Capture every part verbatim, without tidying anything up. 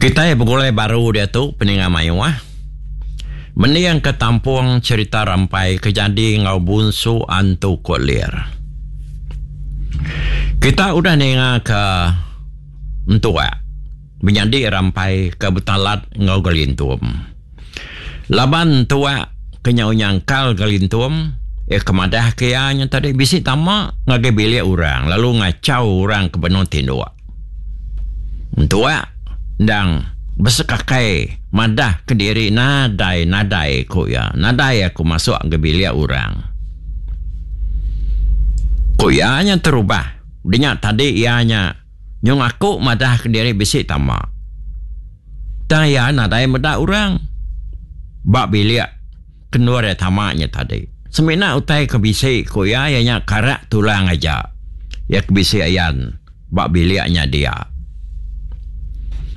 Kitai begulai baru diatu peninga mayuh. Mending ke tampung cerita Rampai ke jadi enggau Bunsu Antu Kolir. Kita udah ninga ke entua menyadi Rampai ke betalat enggau Gelintum. Laban entua ke nyau nyangkal Gelintum, iya ke madah ke iya nya tadi bisi tama ngagai bilik orang lalu ngachau orang ke benung tinduk. Entua endang besekakai madah ke diri nadai nadai ku iya. Nadai aku masuk ke bilik orang. Ku iya nya terubah. Udah nya tadi iya nya nyung aku madah ke diri bisi tama. Tang iya nadai meda orang ba bilik ke endur iya tama nya tadi. Semina utai ke bisi ku iya iya nya karak tulang aja iya ke bisi ayan ba bilik nya dia.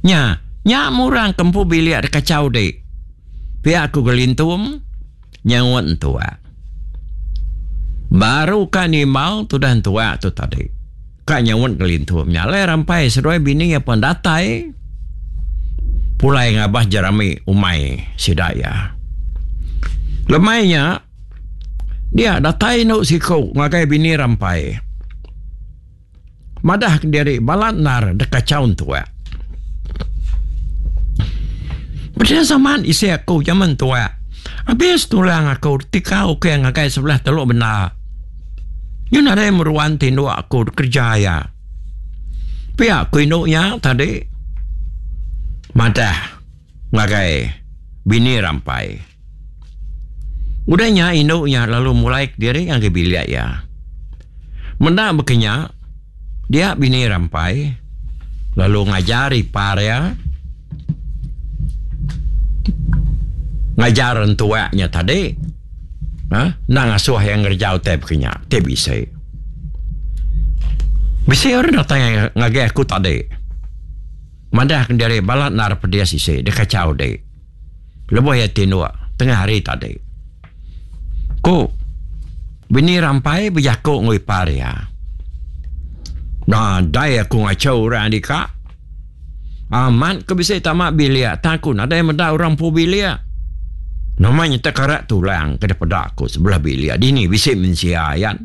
Nya, nya murang ke empu bilik dikachau dik. Pia ku Gelintum nyaut entua. Baru ka nimbal tudah entua tu tadi. Ka nyaut Gelintum nya alai Rampai seduai bini iya pun datai pulai ngabas jerami umai sida iya. Lemai nya dia datai inu siku ngagai bini Rampai. Madah kediri balat endar dikachau entua. Bedil zaman isi aku jaman entua. Abis tulang aku tikau ke ngagai sebelah Teluk Benda. Nyu nadai meruan tinduk aku dikereja iya. Pia ku indu nya tadi madah ngagai bini Rampai. Udah nya indu nya lalu mulai kediri ngagai bilik iya. Menda baka nya, dia bini Rampai lalu ngajar ipar iya ngajar entua nya tadi uhh enda ngasuh iya ngereja utai baka nya ti bisi. Bisi orang datai ngagai aku tadi madah kediri bala endar pedis isi dikachau di. Lebuh iya tinduk tengah hari tadi. Ku bini Rampai bejaku enggau ipar iya. Nadai aku ngachau orang dika. Amat ke bisi tama bilik tang aku nadai meda orang empu bilik. Nama nyata karak tulang ke dipeda aku sebelah bilik dini bisi mensia ayan.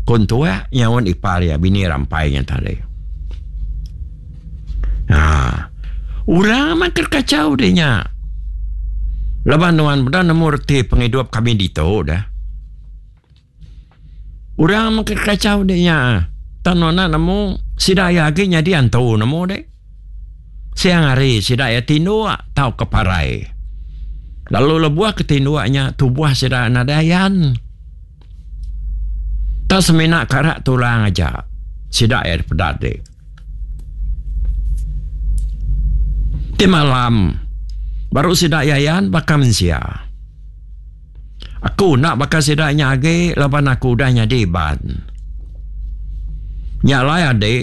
Ku entua nyaut ipar iya bini Rampai nya tadi. Haa. Orang amat ke kachau deh nya. Laban nuan meda nemu reti pengidup kami ditu deh. Orang amat ke kachau deh nya. Tang nuan enda nemu sida iya agi nyadi antu nemu deh. Siang hari sida iya tinduk tauka parai. Lalu lebuh ke tinduk nya tubuh sida nadai ayan. Tang semina karak tulang aja sida iya dipeda ti. Ti malam baru sida iya ayan baka mensia. Aku enda baka sida nya agi laban aku udah nyadi Iban. Nya alai adi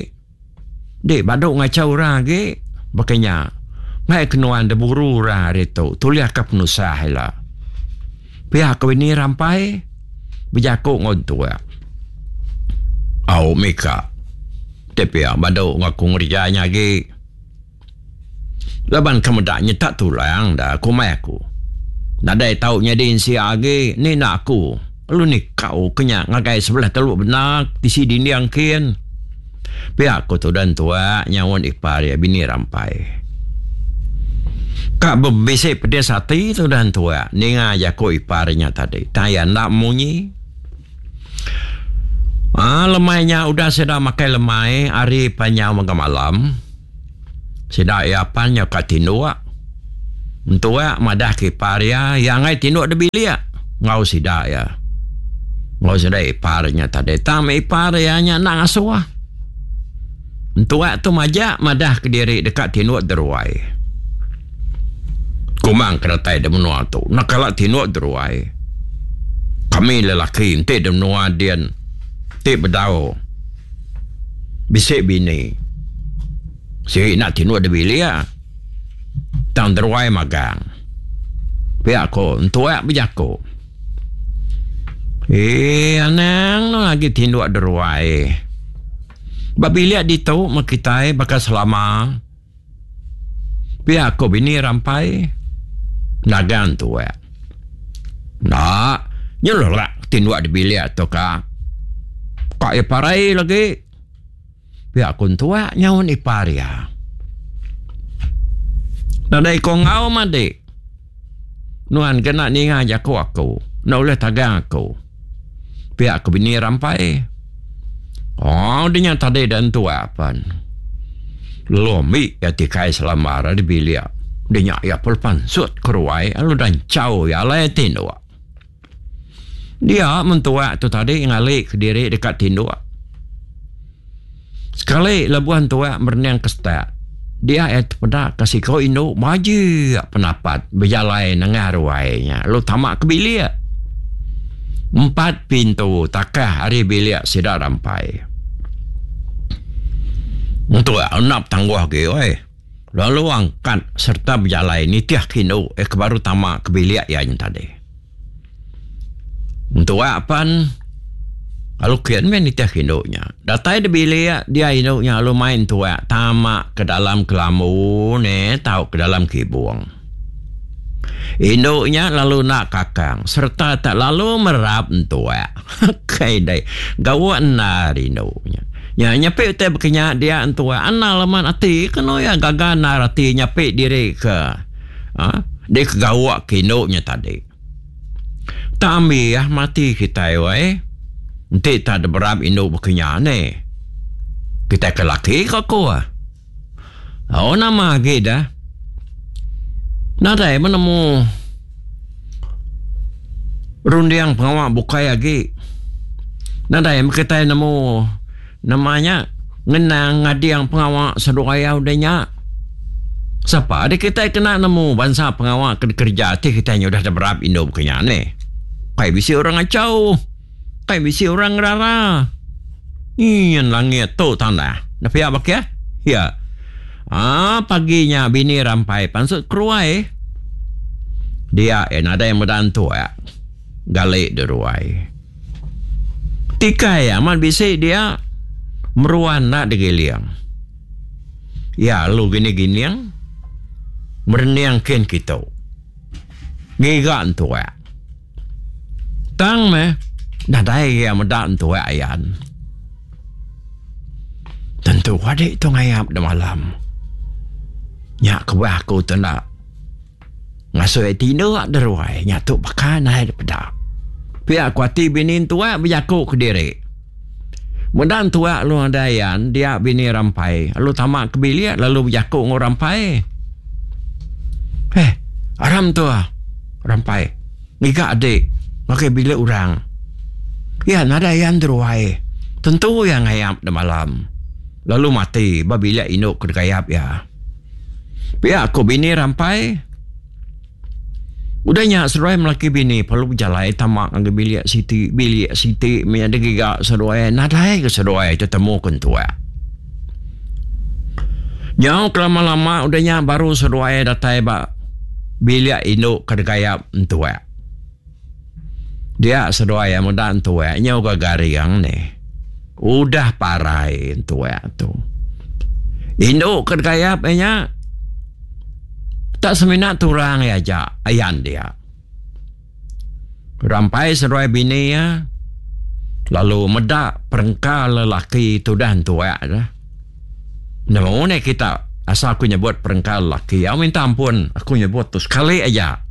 Dik badu ngachau orang agi baka nya. Ngai ke nuan diburu orang ari tu tulihka penusah ila. Pia ke bini Rampai bejaku enggau entua. Au mika ti pia badu enggau aku ngereja nya agi. Laban ke meda nyetak tulang da kumbai aku. Nadai tau nyadi ensia agi ni enda aku lalu nikau ke nya ngagai sebelah Teluk Bena tisi dinding kin. Pia ku tudah entua nyaut ipar iya bini Rampai. Ka bebisi pedis ati tudah entua ninga jaku ipar nya tadi tang iya enda munyi. Aaa lemai nya udah sida makai lemai hari panjau mega malam. Sida iya pan nyau ka tinduk. Entua madah ke ipar iya, iya enggai tinduk da bilik enggau sida iya. Enggau sida ipar nya tadi. Tang meh ipar iya nya enda ngasuh. Entua tu majak madah kediri deka tinduk deruai. Kumang ke datai da menua tu enda kala tinduk deruai. Kami lelaki enti da menua din ti bedau. Bisi bini. Sigi enda tinduk da bilik tang deruai magang. Pia ko entua bejaku. Eee anang ne agi tinduk deruai. Ba bilik ditu meh kitai baka selama. Pia ko bini Rampai nagang tuak. Enda, nyelelak tinduk di bilik tu ka. Ka iya parai lagi. Pia ku entuak nyaun ipar iya. Nadai ko enggau madi. Nuan kena ninga jaku aku. Enda ulih tagang aku. Pia ku bini Rampai. Oh dinya tadi da entuak pan. Lalu ambi iya tikai selambar ari bilik. Dinya iya pun pansut ke ruai lalu danchau iya alai tinduk. Dia mentuak tu tadi ngali kediri deka tinduk. Sekali lebuh entuak merening ke setak, dia iya tepeda ke siku indu majik penapat bejalai nengah ruai nya lalu tama ke bilik. Empat pintu takah ari bilik sida Rampai. Entuak enda betangguh agi oi. Lalu angkat sereta bejalai nitih ke indu iya ke baru tama ke bilik iya nya tadi. Entuak pan lalu kin meh nitih ke indu nya. Datai di bilik dia indu nya lalu mai entuak tama ke dalam kelambu ne tau ke dalam kibung. Indu nya lalu enda kakang sereta tak lalu merap entuak. Kai dai gawa endar indu nya. Nya nyepi utai baka nya dia entuak anang leman ati kenu iya gaga endar ati nyepi diri ke aaa dikegawa ke indu nya tadi. Tak ambi ah mati kitai weh enti tak diberap indu baka nya neh. Kitai ke laki ka ku ah. Oh nama agi dah. Nadai menemu runding pengawa bukai agi. Nadai meh kitai nemu nama nya ngenang ngading pengawa seduai udah nya. Sapa deh kitai kena nemu bansa pengawa ke dikereja ti kitai nya udah diberap indu baka nya neh. Kai bisi orang ngachau, kai bisi orang ngerara. Nyin langit tu tanah. Enda pia bakih? Ya. Aa pagi nya bini Rampai pansut keruai. Dia iya nadai meda entuk gali deruai. Tikai amat bisi dia meruan enda digiling. Iya lalu gining-gining merening kin kitu ngiga entuk. Tang meh nadai iya meda entuak ayan. Tentu adi tu ngayap da malam. Nya kebuah aku tu enda ngasuh iya tinduk da ruai nya tu baka nadai da peda. Pia ku ati bini entuak bejaku kediri. Meda entuak lalu nadai ayan dia bini Rampai lalu tama ke bilik lalu bejaku enggau Rampai. Eh aram tu Rampai. Ngiga adik ngagai bilik orang. Iya nadai iya enteruai. Tentu iya ngayap da malam. Lalu mati ba bilik indu ke dikayap iya. Pia ku bini Rampai. Udah nya seduai melaki bini perlu bejalai tama ngagai bilik siti, bilik siti mih digiga seduai nadai ke seduai tetemu ke entuak. Nyau kelama-lama udah nya baru seduai datai ba bilik indu ke degayap entuak. Dia seduai iya meda entuak nyau ga garing nih. Udah parai entuak tu. Indu ke degayap iya nya tak semina tulang iya aja ayan dia. Rampai seduai bini iya lalu meda perengka lelaki tudah entuak tu. Nemu neh kita asal aku nyebut perengka lelaki. Au minta ampun aku nyebut tu sekali aja.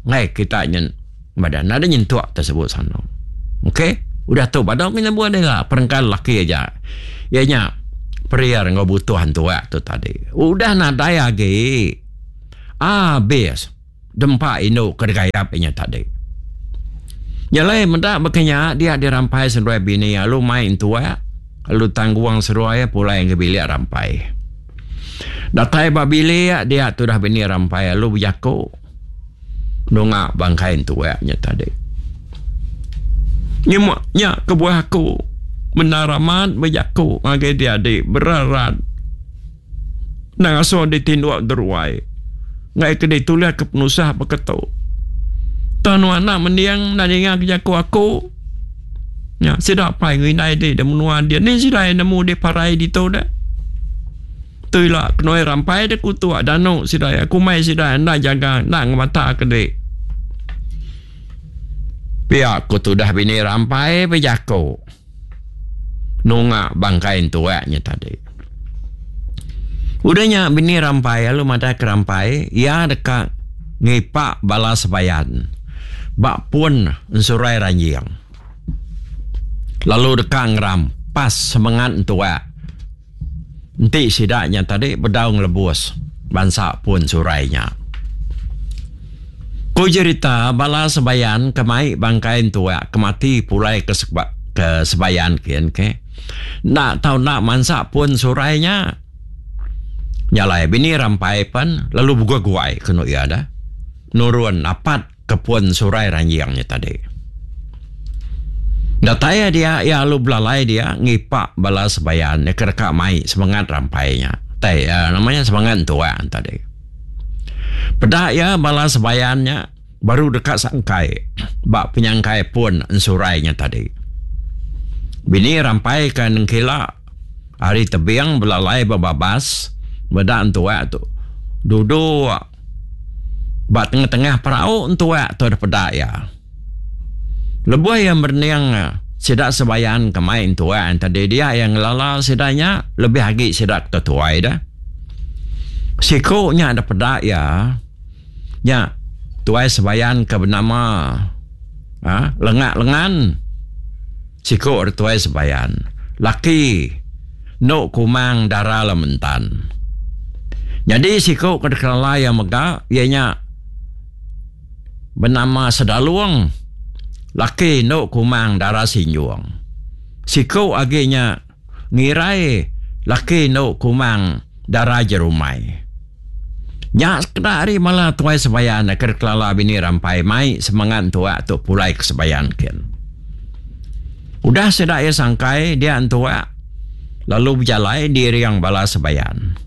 Ngai kita nyen madah nadai nyentuk te sebut sanu. Okey udah tu badu aku nyebut ila perengka lelaki aja. Iya nya periar enggau butuh entuak tu tadi. Udah nadai agi abis. Dempa indu ke digayap inya tadi. Nya alai meda baka nya dia dirampai seduai bini lalu mai entuak lalu tanggung seduai pulai ngagai bilik rampai. Datai ba bilik dia tudah bini rampai lalu bejaku nunga bangkai entuak nya tadi. Nyema nya kebuah aku bendar amat bejaku ngagai dia adi berat-rat. Endang asuh ditinduk deruai. Enggai ke ditulih ke penusah baka tu. Tang nuan enda mending enda ninga ke jaku aku. Nya sida apai enggau indai dih da menua dia ni sida iya nemu dih parai ditu deh. Tu ila kenoi rampai de kutuk danu sida iya kumbai sida enda jaga enda ngemata ke dik. Pia ku tudah bini rampai bejaku nunga bangkai entuak nya tadi. Udah nya bini rampai lalu madah ke rampai iya deka ngipa bala sebayan ba pun ensurai ranjing lalu deka ngerampas semengat entuak. Enti sida nya tadi bedau ngelebus bansa pun surai nya. Ku jerita bala sebayan ke mai bangkai entuak ke mati pulai ke ke sebayan kin ke enda tau enda mansa pun surai nya. Nya alai bini rampai pen lalu beguai-guai kenu iya dah nurun apat ke pun surai ranjing nya tadi. Datai iya dia, iya lalu belalai dia ngipa bala sebayan iya ke deka mai semengat rampai nya. Tai nama nya semengat entuang tadi. Peda iya bala sebayan nya baru deka sangkai ba penyangkai pun ensurai nya tadi. Bini rampai ke nengkila ari tebing belalai ba babas meda entuak tu duduk ba tengah-tengah perau entuak tu dipeda iya. Lebuh iya merening sida sebayan ke mai entuak tadi dia iya ngelala sida nya lebih agi sida ke tuai dah. Siku nya dipeda iya nya tuai sebayan ke benama ha Lengak Lengan. Siku ari tuai sebayan laki endo Kumang Dara Lementan. Nyadi siku ke dikelala iya mega iya nya benama Sedalung laki endo Kumang Dara Sinjung. Siku agi nya Ngirai laki endo Kumang Dara Jerumai. Nya sekeda ari bala tuai sebayan ke dikelala bini Rampai mai semengat entuak tu pulai ke sebayan kin. Udah sida iya sangkai dia entuak lalu bejalai diiring bala sebayan.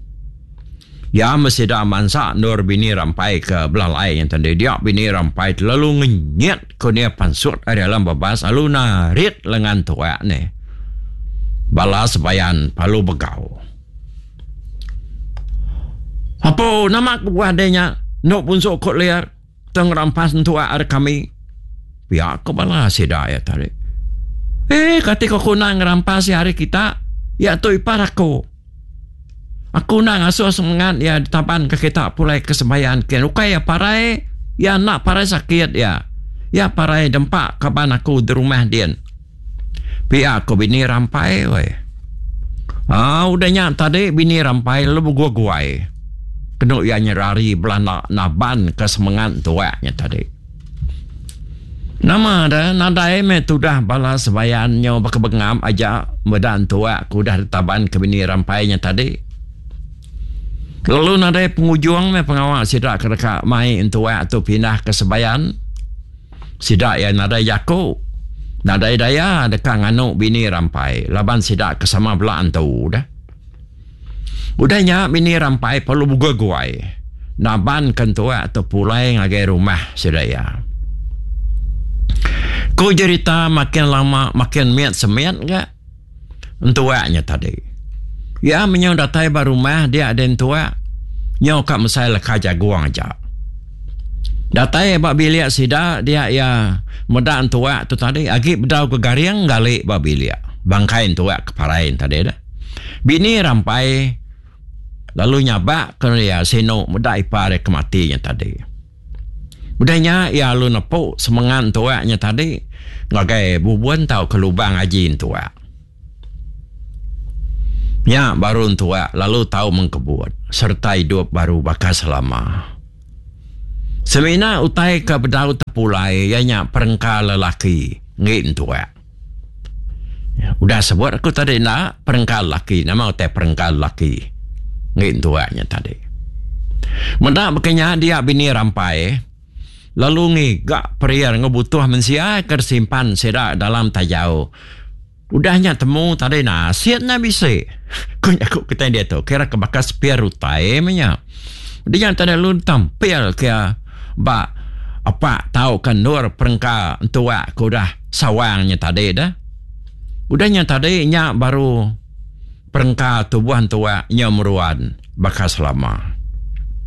Iya meh sida mansa endur bini Rampai ke belalai nya tadi dia bini Rampai telalu ngenyit ku nia pansut ari alam babas lalu narit lengan tuak nih. Bala sebayan lalu begau. Apo nama kebuah deh nya endo punsu ku liar tang rampas entuak ari kami. Pia ku bala sida iya tadi. Eh kati ku aku enda ngerampas iya ari kita iya tu ipar aku. Aku enda ngasuh semengat iya ditaban ke kita pulai ke sembahyang kin. Ukai iya parai, iya enda parai sakit iya. Iya parai dempa kaban aku di rumah din. Pia ku bini Rampai weh. Aa udah nya tadi bini Rampai lalu beguai-guai. Kenu iya nyerari belanda naban ke semengat tuak nya tadi. Nama deh nadai meh tudah bala sebayan nyau baka bengap aja meda entuak ke udah ditaban ke bini Rampai nya tadi. Lalu nadai pengujung meh pengawa sida ke deka mai entuak tu pindah ke sebayan. Sida iya nadai jaku, nadai daya deka nganu bini Rampai laban sida ke sama bela antu deh. Udah nya bini Rampai perlu beguai-guai naban ke entuak tu pulai ngagai rumah sida iya. Ku jerita makin lama makin mit semit ga entuak nya tadi. Iya menyau datai ba rumah dia deh entuak nyau ka mesai leka jagung aja. Datai ba bilik sida dia iya meda entuak tu tadi agi bedau ke garing gali ba bilik bangkai entuak ke parai tadi deh. Bini Rampai lalu nyabak ke iya sinu meda ipar iya ke mati nya tadi. Udah nya iya lalu nepu semengat entuak nya tadi ngagai bubun tauka lubang aji entuak. Nya baru entuak lalu tau mengkebut sereta idup baru baka selama. Semina utai ke bedau tepulai iya nya perengka lelaki enggi entuak. Udah sebut aku tadi enda perengka lelaki nama utai perengka lelaki enggi entuak nya tadi. Meda baka nya dia bini Rampai lalu ngiga periar enggau butuh mensia ke disimpan sida dalam tajau. Udah nya temu tadi nasit nya bisi. Ku jaku kitai diatu kira ke baka sepir utai meh nya. Udah nya tadi lalu tampil ke ba apak tauka endur perengka entuak ke udah sawang nya tadi deh. Udah nya tadi nya baru perengka Perengka tubuh entuak nyau meruan baka selama.